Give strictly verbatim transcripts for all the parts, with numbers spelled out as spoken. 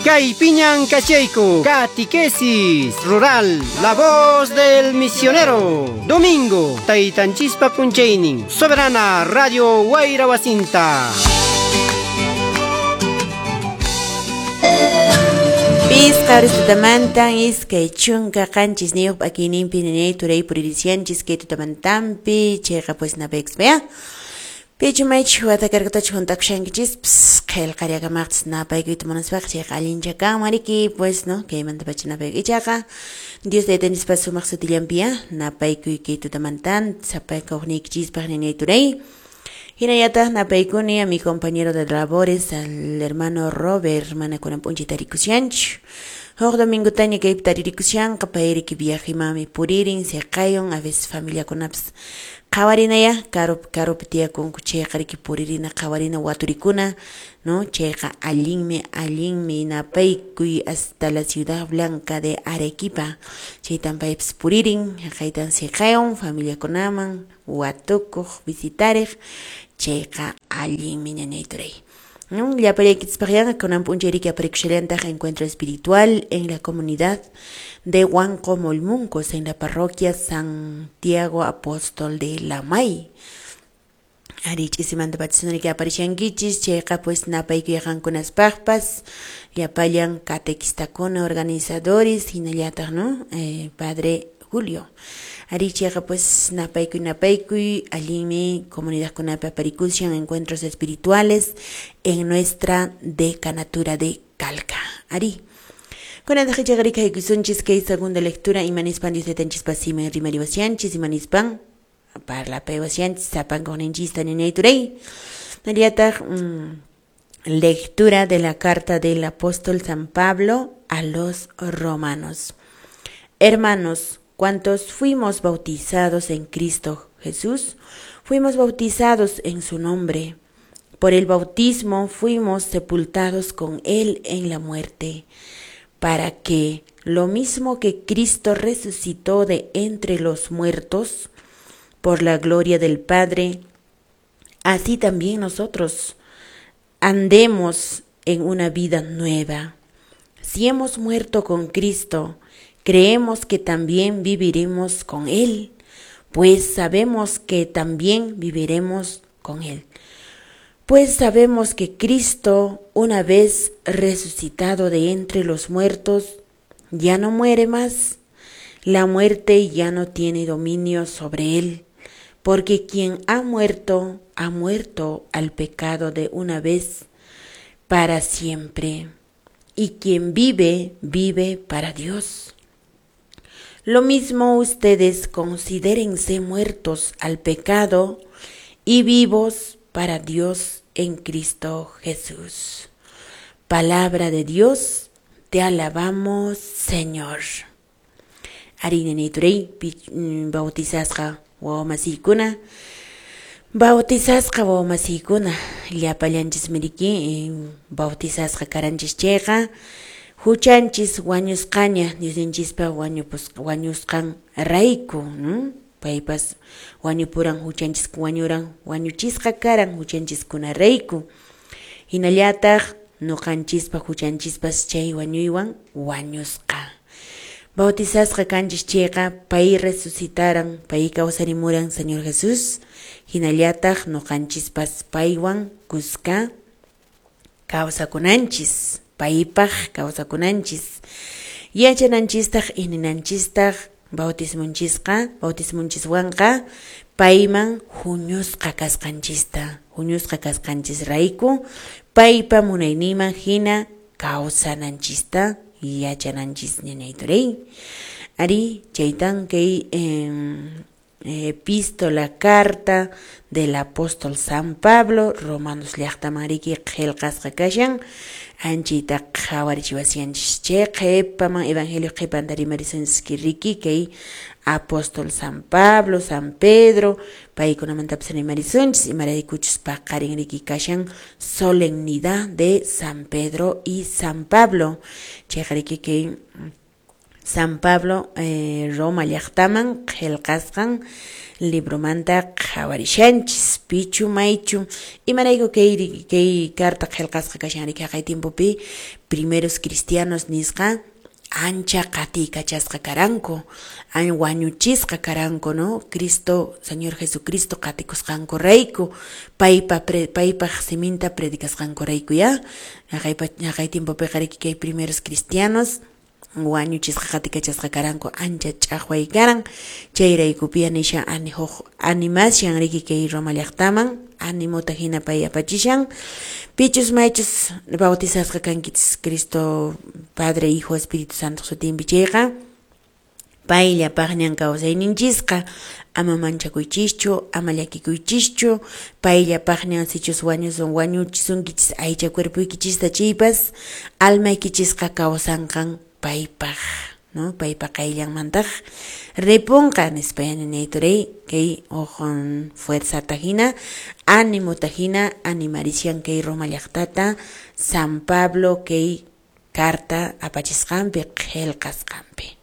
Kaypiñan kachayku, Catequesis Rural, La Voz del Misionero. Domingo, Taytanchispa p'unchaynin, Soberana Radio Wayra Wasinta. Pisqa tutamantan iskay chunka qanchis niyuq p'akiyninpi ninay turay puririsianchis kay tutamantanpi chayqa pues napaykuspa pichu maychus watakarkutachu hunt'akushankichispis qillqariakamaqchis napaykuyta munaspaqa chayqa allincha kanman riki pues no kaymantapacha napaykuy ichaqa Dios taytanchispa sumaq sutillanpiya napaykuy kay tutamantan sapaykuqniykichispaq ninay turay. Hinallataq napaykuni a mi compañero de labores, al hermano Robert, mana kunan p'unchay tarikushanchu. Huk domingotaña kaypi taririkushanqa, payriki viajemanmi puririn, siqayun, a veces familiakunapas qhawarinaya, karupi karupi tiyakunku chayqa riki puririna, qhawarina waturikuna, no? Chayqa allinmi, allinmi napaykuy hasta la Ciudad Blanca de Arequipa. Chaytan paypas puririn, haqaytan siqayun familiakunaman, watukuq, visitariq, chayqa allinmi ñañay turay. Llapallaykichispaqllaqa kunan p'unchay riki aparikushallantaj encuentro espiritual en la comunidad de Huanco Molmuncos en la parroquia Santiago Apóstol de Lamay. Ari ch'isimanta pachasunariki aparishankichis chayqa pues napaykuy qankunaspaqpas llapallan catequistakuna organizadores hinallataq no eh, padre Julio. Ari chayqa pues napaykuy napaykuy allinmi comunidadkunapi aparikushan encuentros espirituales en nuestra decanatura de Calca. Ari. Kunantaq ichaqa rikaykusunchis kay segunda lectura imanispan Dios taytanchispa simin rimariwashanchis imanispan parlapaywashanchis sapankuqninchista ñañay turay. Nallataq mm, lectura de la carta del apóstol San Pablo a los romanos. Hermanos, cuantos fuimos bautizados en Cristo Jesús, fuimos bautizados en su nombre. Por el bautismo fuimos sepultados con él en la muerte, para que, lo mismo que Cristo resucitó de entre los muertos, por la gloria del Padre, así también nosotros andemos en una vida nueva. Si hemos muerto con Cristo, creemos que también viviremos con Él, pues sabemos que también viviremos con Él. Pues sabemos que Cristo, una vez resucitado de entre los muertos, ya no muere más. La muerte ya no tiene dominio sobre él, porque quien ha muerto, ha muerto al pecado de una vez para siempre. Y quien vive, vive para Dios. Lo mismo ustedes considérense muertos al pecado y vivos para Dios en Cristo Jesús. Palabra de Dios, te alabamos, Señor. Ari ñañay bautizasqa wawamasiykuna, bautizasqa wawamasiykuna, llapallanchismi riki bautizasqa karanchis chayqa, huchanchis wañusqaña Diosninchispa wañupus wañusqan rayku, ¿no? Paypas wañupuran huchanchis wañuran wañuchisqa karan huchanchiskuna rayku. Hinallataq ñuqanchispa huchanchispas chay wañuywan wañusqa. Bautizasqa kanchis chayqa pay resucitaran, pay kawsarimuran Señor Jesús, hinallataq ñuqanchispas paywan kuska kawsakunanchis, paypaq kawsakunanchis. Yachananchistaq ininanchistaq bautismunchisqa, bautismunchiswanqa payman huñusqa kasqanchista, huñusqa kasqanchisrayku paypa munayninman hina kawsananchista yachananchis ñañay turay. Ari chaytan kay eh, epístola, carta del apóstol San Pablo, Romanos llaqtaman riki qillqasqa kashan, anchayta qhawarichiwashanchis chay qhipaman evangelio qhipanta rimarisunchis riki kay apóstol San Pablo, San Pedro, paykunamantapas rimarisunchis imaraykuchus paqarin riki kashan solemnidad de San Pedro y San Pablo. Chayqa riki kay San Pablo eh, Roma llaqtaman qillqasqan libromanta qhawarishanchis pichu maychu imarayku kay kay carta qillqasqa kashan riki haqay tiempopi primeros cristianos nisqa ancha qatiykachasqa karanku, an wañuchisqa karanku, no? Cristo, Señor Jesucristo qatikusqanku rayku, paypa pre, paypaq siminta predicasqanku rayku ya. Haqay haqay tiempopiqa riki kay primeros cristianos wañuchisqa qatikachasqa karanku, ancha ch'aqway karan, chayraykupiya nishan ani huk animashan riki kay Roma llaqtaman animota hina pay apachishan pichus maychus bautizasqa kankichis Cristo Padre, Hijo, Espíritu Santo sutinpi chayqa payllapaqñan kawsayninchisqa ama manchakuychischu, ama llakikuychischu, payllapaqñan sichus wañusun wañuchisunkichis aycha cuerpoykichista chaypas almaykichisqa kawsanqan paypaq, no? Paypa qayllanmantaq ripunqa nispa ninayturay kay huk fuerzata hina animota hina animarishan kay Roma llaqtata San Pablo kay carta apachisqanpi qillqasqanpi.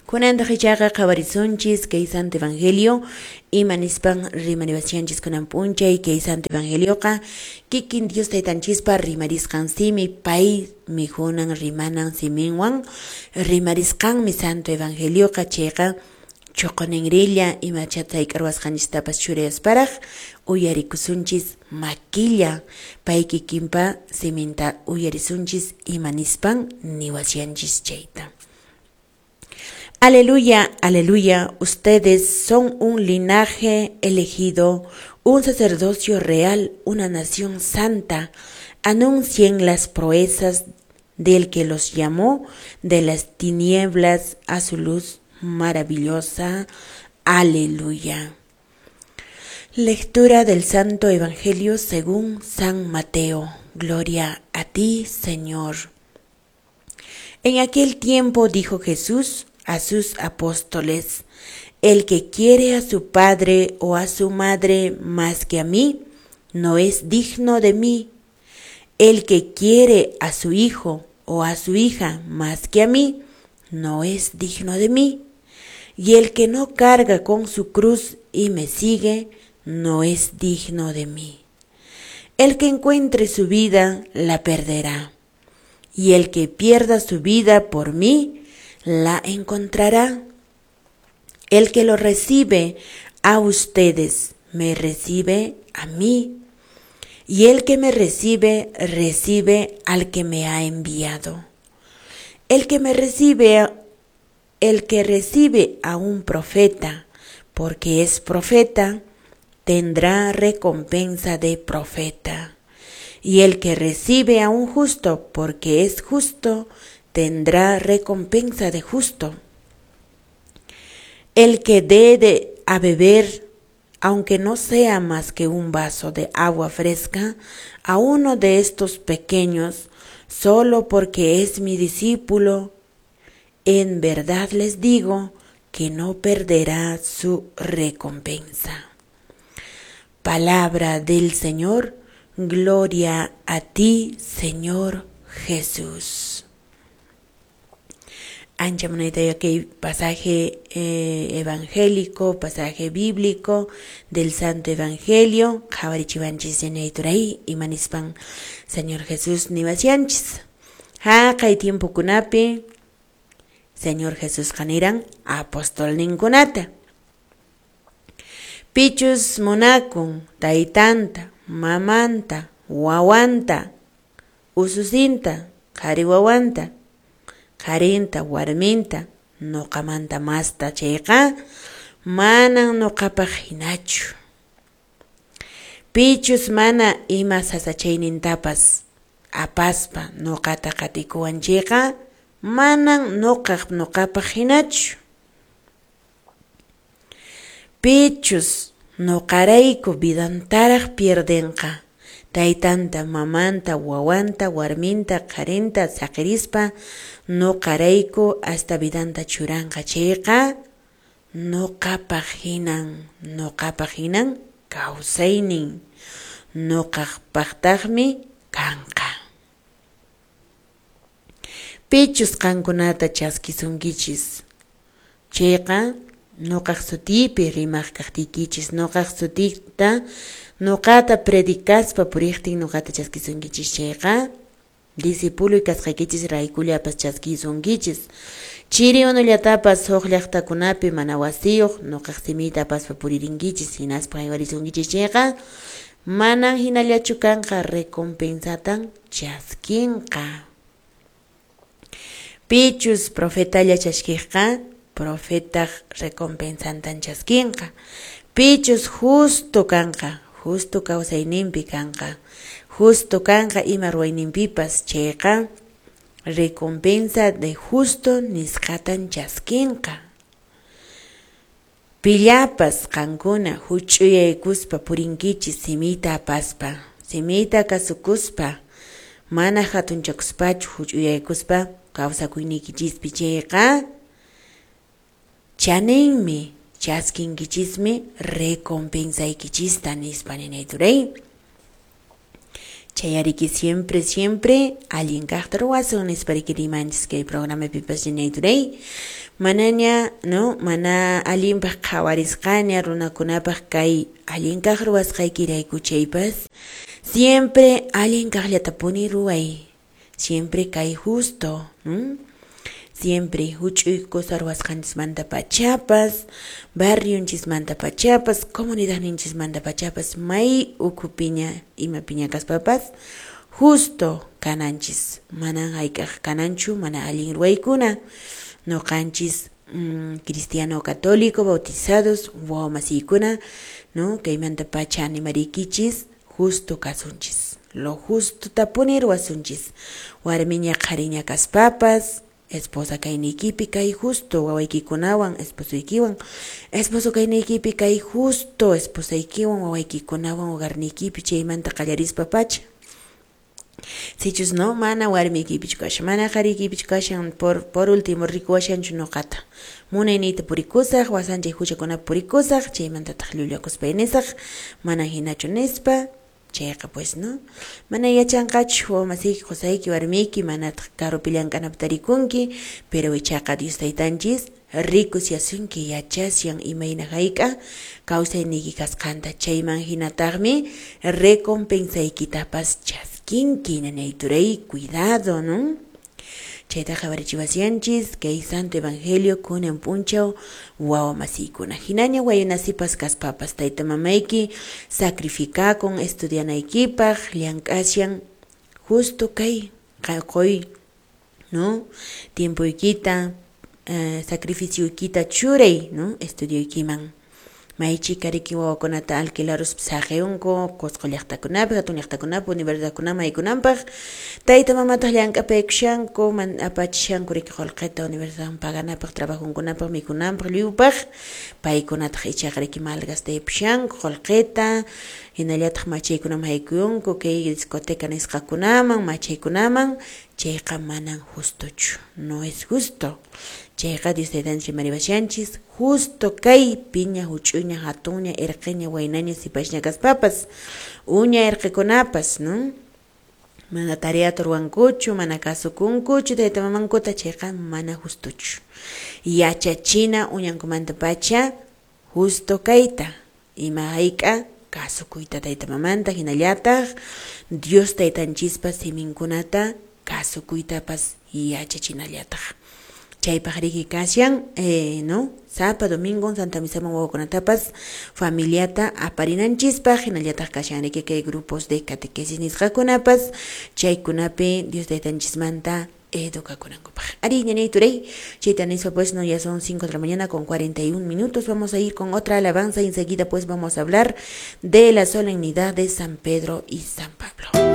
Kunantaq ichaqa qhawarisunchis kay Santo Evangelio ima nispan rimariwashanchis kunan p'unchay kay Santo Evangelioqa kikin Dios taytanchispa rimarisqan simi pay mihunan rimanan siminwan rimarisqanmi Santo Evangelioqa chayqa chuquninrilla imacha sayk'arwasqanchistapas churayasparaq uyarikusunchis makilla pay kikinpa siminta uyarisunchis ima nispan niwashanchis chayta. Aleluya, aleluya, ustedes son un linaje elegido, un sacerdocio real, una nación santa. Anuncien las proezas del que los llamó de las tinieblas a su luz maravillosa. Aleluya. Lectura del Santo Evangelio según San Mateo. Gloria a ti, Señor. En aquel tiempo dijo Jesús a sus apóstoles: el que quiere a su padre o a su madre más que a mí, no es digno de mí. El que quiere a su hijo o a su hija más que a mí, no es digno de mí. Y el que no carga con su cruz y me sigue, no es digno de mí. El que encuentre su vida, la perderá. Y el que pierda su vida por mí, la encontrará. El que lo recibe a ustedes, me recibe a mí. Y el que me recibe, recibe al que me ha enviado. El que me recibe, el que recibe a un profeta, porque es profeta, tendrá recompensa de profeta. Y el que recibe a un justo, porque es justo, tendrá recompensa de justo. El que dé de a beber, aunque no sea más que un vaso de agua fresca, a uno de estos pequeños, solo porque es mi discípulo, en verdad les digo que no perderá su recompensa. Palabra del Señor, gloria a ti, Señor Jesús. Ancha munayta kay pasaje eh, evangélico, pasaje bíblico del Santo Evangelio, qhawarichiwanchis yanayturay imanispan Señor Jesús niwasyanchis. Haqay tiempokunapi Señor Jesús qaniran apostolninkunata. Pichus munakun taytanta, mamanta, wawanta, ususinta, qhari wawanta, qharinta, warminta, nuqamanta masta chayqa, manan nuqapaq hinachu. Pichus mana ima sasachaynintapas apaspa nuqata qatikuwan chayqa, manan nuqaq nuqapaq hinachu. Pichus nuqarayku vidantaraq pierdenqa, taytanta, mamanta, wawanta, warminta, qharinta saqirispa nuqarayku hasta vidanta churanqa chayqa, nuqapaq hinan, nuqapaq hinan kawsaynin, nuqaqpaqtaqmi kanqa. Pichus qankunata chaskisunkichis chayqa nuqaq sutiypi rimaq kaqtiykichis, nuqaq sutiyta nuqata predicaspa puriqtin nuqata chaskisunkichis chayqa discipuloy kasqaykichis raykullapas chaskisunkichis. Chiri unullatapas huk llaqtakunapi mana wasiyuq nuqaq simiyta apaspa puririnkichis hinaspa haywarisunkichis chayqa manan hinallachu kanqa, recompensatan chaskinqa. Pichus profetalla chaskiqqa profetaq recompensantan chaskinqa. Pichus justo kanqa, justo kawsayninpi kanqa, justo kanqa ima ruwayninpipas chayqa recompensa de justo nisqatan chaskinqa. Pillapas qankuna huch'uyaykuspa purinkichis simiyta apaspa, simiyta kasukuspa, mana hatunchakuspachu huch'uyaykuspa kawsakuyniykichispi chayqa chaninmi chaskinkichismi recompensaykichista nispa ninay turay. Chayariki siempre, siempre allin kaqta ruwasun nispa riki rimanchis kay programapipas ninay turay. Manaña, no, mana allinpaq qhawarisqaña runakunapaq kay allin kaq ruwasqaykirayku chaypas siempre allin kaqllatapuni ruway. Siempre kay justo, ¿no? Siempre huch'uy cosa ruwasqanchismanta pachapas, barrionchismanta pachapas, comunidadninchismanta pachapas, may ukhupiña imapiña kaspapas justo kananchis, manan hayk'aq kananchu mana allin ruwaykuna. Nuqanchis mm, cristiano católico bautizados wawamasiykuna, no, kaymanta pacha animariykichis justo kasunchis, lo justo tapuni ruwasunchis, warmiña qhariña kaspapas, esposa kayniykipi kay justo wawaykikunawan esposuykiwan, esposo kayniykipi kay justo esposaykiwan wawaykikunawan hogarniykipi chaymanta qallarispa pacha. Sichus no, mana warmiykipichu kashan, mana qhariykipichu kashan, por, por último rikuwashanchu nuqata. Munayniyta purikusaq, wasanchay huchakunapi purikusaq, chaymantataq llullakuspay nisaq, mana hinachu nispa, chayqa pues no, mana yachanqachu wawamasiyki, qusayki, warmiyki, manataq karupi llank'anapi tarikunki, pero ichaqa Dios taytanchis rikusyasunki, yachasyan imayna hayk'a kawsayniyki kasqanta, chayman hinataqmi recompensaykitapas chaskinki, nanay turay, cuidado, ¿no? Chayta qhawarichiwasyanchis kay Santo Evangelio kunan p'unchaw wawamasiykuna. Hinaña waynasipas kaspapas tayta mamayki sacrificakun estudianaykipaq, llank'asyan justo kay qoy, ¿no? Tiempoykita, eh, sacrificioykita churay, ¿no? Estudioykiman. Maychika riki wawakunata alquilaruspa saqiyunku Cusco llaqtakunapi, hatun llaqtakunapi, universidadkunaman haykunanpaq. Tayta mamataq llank'apaykushanku, man apachishanku riki qullqita universidadman paganapaq, trabajunkunapaq, mikhunanpaq, lliwpaq. Paykunataq ichaqa riki malgastaypushanku qullqita, hinallataq machaykunaman haykuyunku, kay discoteca nisqakunaman, machaykunaman, chayqa manan justochu, no es justo. Chayqa Dios taytanchis rimariwashanchis, justo kay piña, huch'uyña, hatunña, irqiña, waynaña, sipasña kaspapas, uña irqikunapas, ¿no? Mana tareata ruwankuchu, mana kasukunkuchu tayta mamankuta, chayqa mana justochu. Yachachina uñankumanta pacha justo kayta, ima hayk'a kasukuyta tayta mamanta, hinallataq Dios taytanchispa siminkunata kasukuytapas yachachinallataq. Chaypaq riki kashan, eh, no, sapa domingo Santa Misaman wawakunatapas familiata aparinanchispaq, hinallataq kashan riki kay grupos de catequesis nisqakunapas, chaykunapi Dios taytanchismanta edukakunankupaq. Ari, ñañay turay, chayta nispa pues no, ya son cinco de la mañana con cuarenta y un minutos, vamos a ir con otra alabanza y enseguida pues vamos a hablar de la solemnidad de San Pedro y San Pablo.